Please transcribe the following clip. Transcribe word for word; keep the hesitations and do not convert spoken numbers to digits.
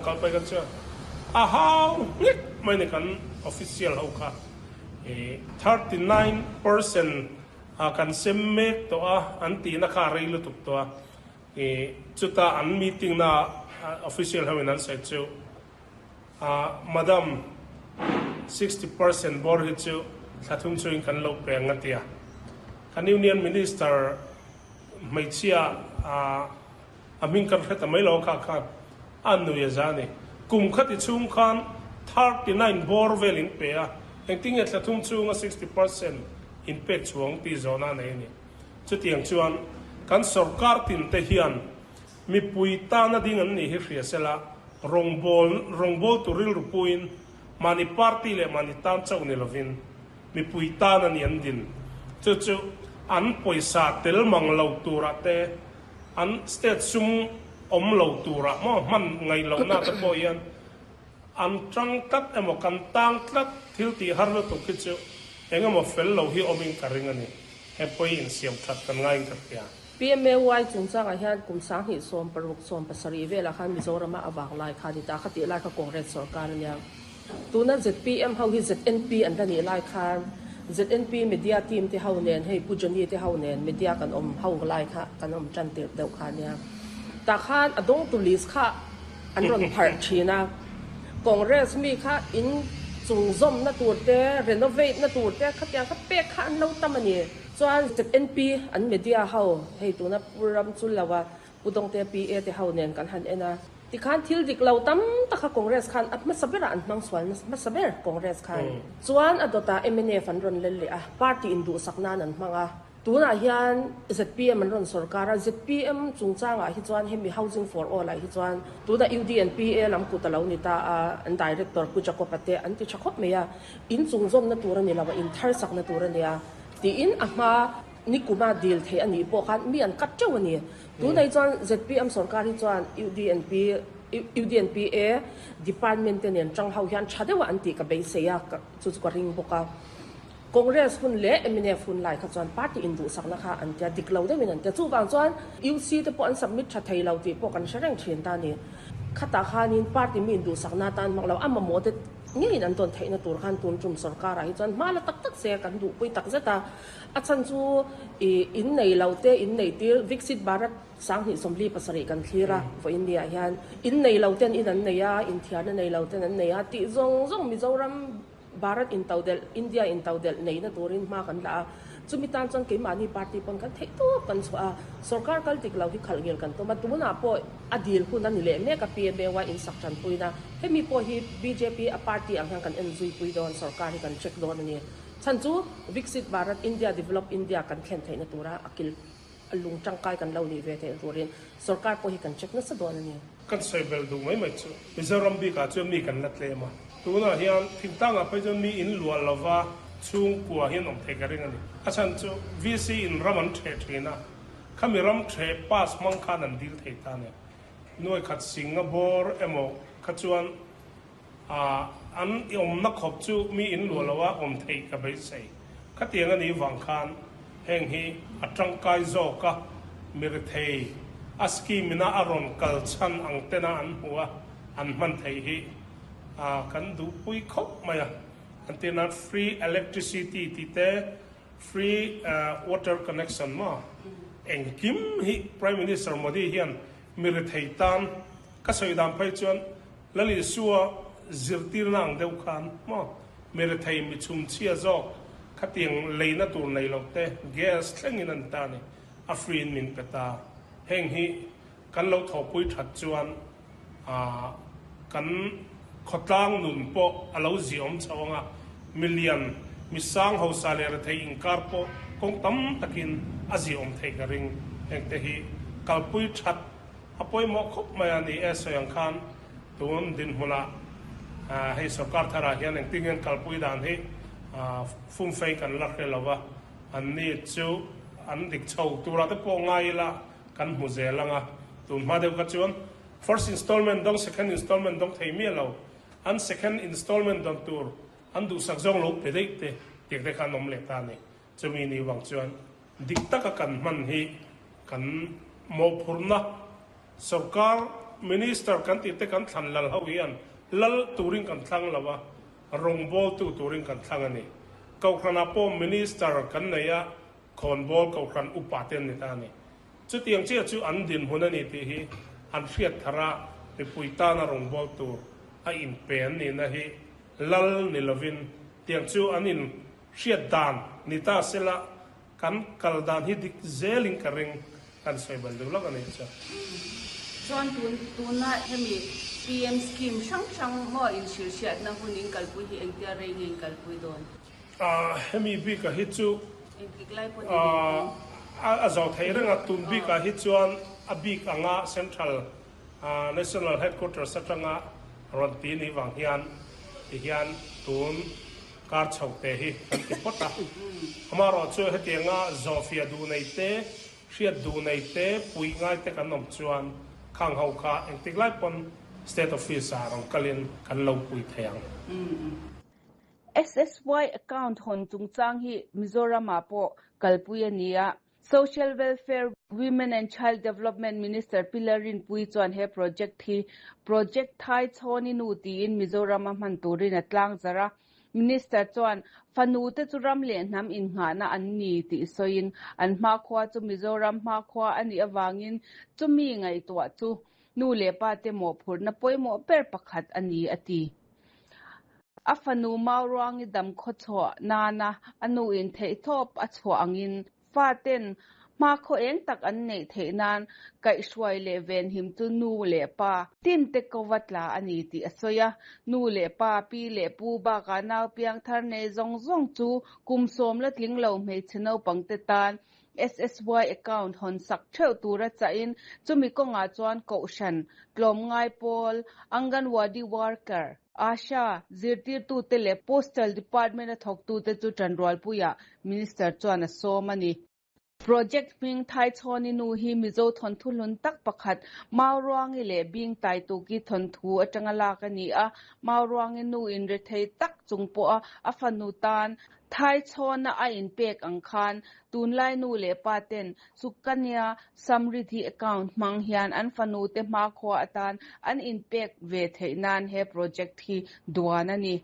Kalpai kan chuan a hau hlek mai ni kan official ho kha thirty nine percent a kan sem mek tawh a an tihna kha a rei lutuk tawh a chuta an meeting na official ho in an sawi chu madam sixty percent bawr hi chu thla thum chungin kan lo pe ang a tia kan union minister hmeichhia a hming kan hre ta mai lo kha khan a nui a za ni kum khati chhung khan thirty nine bawr vel in pe a engtin nge thla thum chunga sixty percent in pek chhuang ti zawhna nei a ni chutiang chuan kan sorkar tin te hian mipui tana ding an nih hi hria sela rawngbâwl rawngbâwl tur rilru puiin mahni party leh mahni tan chauh ni lovin mipui tan a ni an din chu chu an pawisa tel mang lo turah te an state sum awm lo turah maw hman ngaih lohna te pawh hian an tang tlat emaw kan tang tlat thil tih har lutuk hi chu eng emaw fel lo hi awmin ka ring a ni he pawi insiam that kan ngaiin ka hria. P M A Y chungchangah hian kum sanghnih sawm paruk sawm pasarih velah khan Mizorama a vang lai kha a ni ta, khatih lai kha Congress sorkar a nia. Tuna Z P M ho hi Z N P an la nih lai khan Z N P media team te ho nen hei Pu Johnny te ho nen media kan awm ho lai kha kan awm tan tirh deuh kha a nia. Tah khan a dawngtu list kha an rawn pharh thin a, Congress mi kha in chungzawmna tur te, renovate na tur te khatiang kha pek kha an lo tam a ni. Chuan Z N P an media ho hei tuna Pu Ramchulloa Pu Dawngte P A te ho nen kan han en a, tikhan thil dik lo tam tak kha Congress khan a hmasa berah an hmang sual hmasa ber Congress khan. Chuan a dawtah M N F an rawn lel leh a, party induhsak nan an hmang a. Tunah hian Z P M an rawn sorkar a, Z P M chungchangah hi chuan hemi Housing for All ah hi chuan tuna U D and P A lam kut a lo ni ta a, an director Pu Jacob-a te an ti tha khawp mai a, in chungzawmna tur a ni lo a, in thar sakna tur a nia tiin a hma nikuma dil thei a nih pawh khan mi an cut teuh a ni. Tunah hi chuan Z P M sorkar hi chuan U D N P U D N P A department te nen tang ho hian tha deuh a an tih ka beisei a, chu chu ka ring bawk a. Congress hun leh M N F hun lai kha chuan party induhsakna kha an tia dik lo deuhin an tia chuvang chuan U C te pawh an submit tha thei lo tih pawh kan hre reng thin ta a ni. Khatah khanin party mi induhsakna atan hmang lo a mamawh te ngeiin an dawn theihna tur khan tun tum sorkarah hi chuan hma la tak tak se kan duhpui tak zet a. A chhan chu ih in nei lo te in nei tir Viksit Bharat sanghnih sawmli pasarih kan thlir a vawiin ni ah hian in nei lo ten in an nei a, inthiarna nei lo ten an nei a tih zawng zawng Mizoram Bharat intodelh India intodelh neihna turin hma kan la a, chumi tan chuan keimahni party pawn kan theih tawp kan chhuah a, sorkar kal dik lo hi khalh ngil kan tum a, tunah pawh a dil hun a ni leh mek a P M A Y insak tanpuina hemi pawh hi B J P a party ang hian kan en zui pui dawn sorkar hi kan check dawn a ni. Chhan chu Viksit Bharat India Develop India kan thlen theihna tura a kil a lung tangkai kan lo nih ve theihna turin sorkar pawh hi kan check nasa dawn a ni. Kan sawi bel duh mai mai chu Mizoram bikah chuan mi kan la tlem a, tunah hian thingtangah phei chuan mi in luah lova chhungkua hian awm thei ka ring a ni. A chhan chu V C in ram an theh thin a, khami ram theh pass hmang khan an dil thei ta a ni. Nuai khat sing a bawr emaw kha chuan an awmna khawp chu mi in luah loa awm theih ka beisei. Khatiang a nih vang khan heng hi a tangkai zawk a, mi rethei a scheme ina a rawn kal chhan ang tena an hmu a, an hman theih hi kan duhpui khawp mai a. An tirna free electricity tih te, free water connection maw engkim hi Prime Minister Modi hian mi rethei tan ka sawi dan phei chuan Lal Isua zirtirna ang deuh khan maw mi rethei mi chhumchhia zawk khatiang leina tur nei lo te gas thlengin an ta ni a free in min pe ta. Heng hi kan lo thawhpui that chuan kan khawtlang nun pawh a lo ziawm chho anga milian mi sang hausa leh rethei inkar pawh kawng tam takin a ziawm thei ka ring. Heng te hi kalpui that a pawimawh khawp mai a ni e sawi ang khan tun dinhmunah hei sorkar tharah hian engtin nge an kalpui dan hi fumfei kan la hre lo a, an ni chu an dik chho turah te pawh ngai ila kan hmu zel anga tun hma deuh kha chuan first installment dawng second installment dawng thei miah lo an second installment dawn tur an duhsak zawng lo pe daih te tiang te kha an awm leh ta a ni. Chumi ni vang chuan dik taka kan hman hi kan mawhphurhna sorkar Minister kan tih te kan thlan lal ho hian lal turin kan thlang lo a, rawngbawltu turin kan thlang a ni. Kohhranah pawh Minister kan nei a, khawnbawl kohhran upa te an ni ta a ni. Chutiang chiah chu an dinhmun a ni tih hi an hriat thar a, mipui tana rawngbawltu tur a inpe an nihna hi lal ni lovin tiang chu an in hriat dan ni ta sela kan kal dan hi dik zelin ka ring kan sawi bal deuh lawk a ni chu. Chuan tun tuna hemi P M scheme hrang hrang maw inhrilhhriatna hun in kalpui hi engtia rei nge in kalpui dawn? Hemi bikah hi chu Engtik lai pawh ni ve a zo thei reng a, tun bikah hi chuan a bik anga Central National Headquarters atanga rawn ti ni vang hian tihian tun kar chho te hi kan ti phawt a. Amaherawhchu hetianga zawhfiah duh nei te, hriat duh nei te, puih ngai te kan awm chuan khang ho kha engtik lai pawn State Office ah rawn kalin kan lo pui thei ang. S S Y account hawn chungchang hi Mizoramah pawh kalpui a ni a. Social Welfare, Women and Child Development Minister Pi Lalrinpuii chuan he project hi Project Thaichhawni Nu tiin Mizorama hman turin a tlang zarh a. Minister chuan fanu te chu ram leh hnam innghahna an ni tih sawiin an hmakhua chu Mizoram hmakhua a nih avangin chumi ngaihtuah chu nu leh pa te mawhphurhna pawimawh ber pakhat a ni a ti. A fanu Mauruangi dam khawchhuah nana a nu in theihtawp a chhuah angin faten hmakhaw eng tak an neih theih nan kaihhruai leh venhim chu nu leh pa tin te kova tla a ni tih a sawi a. Nu leh pa, pi leh pu bakah nau piang thar nei zawng zawng chu kum sawm la tling lo hmeichhe naupang te tan S S Y account hawn sak theuh tura chahin chumi kawngah chuan kohhran, tlawmngai pawl, Anganwadi worker, ASHA, zirtirtute leh Postal Department a thawktute chu tanrualpuiah Minister chuan a sawm a ni. Project hming Thaichhawni Nu hi Mizo thawnthu hlun tak pakhat Mauruangi leh Bingtaituki thawnthu atanga lak a ni a. Mauruangi nu in rethei tak chung pawha a fanu tan Thaichhawna a inpek ang khan tunlai nu leh pa ten Sukanya Samriddhi account hmang hian an fanu te hmakhua atan an inpek ve theih nan he project hi duan a ni.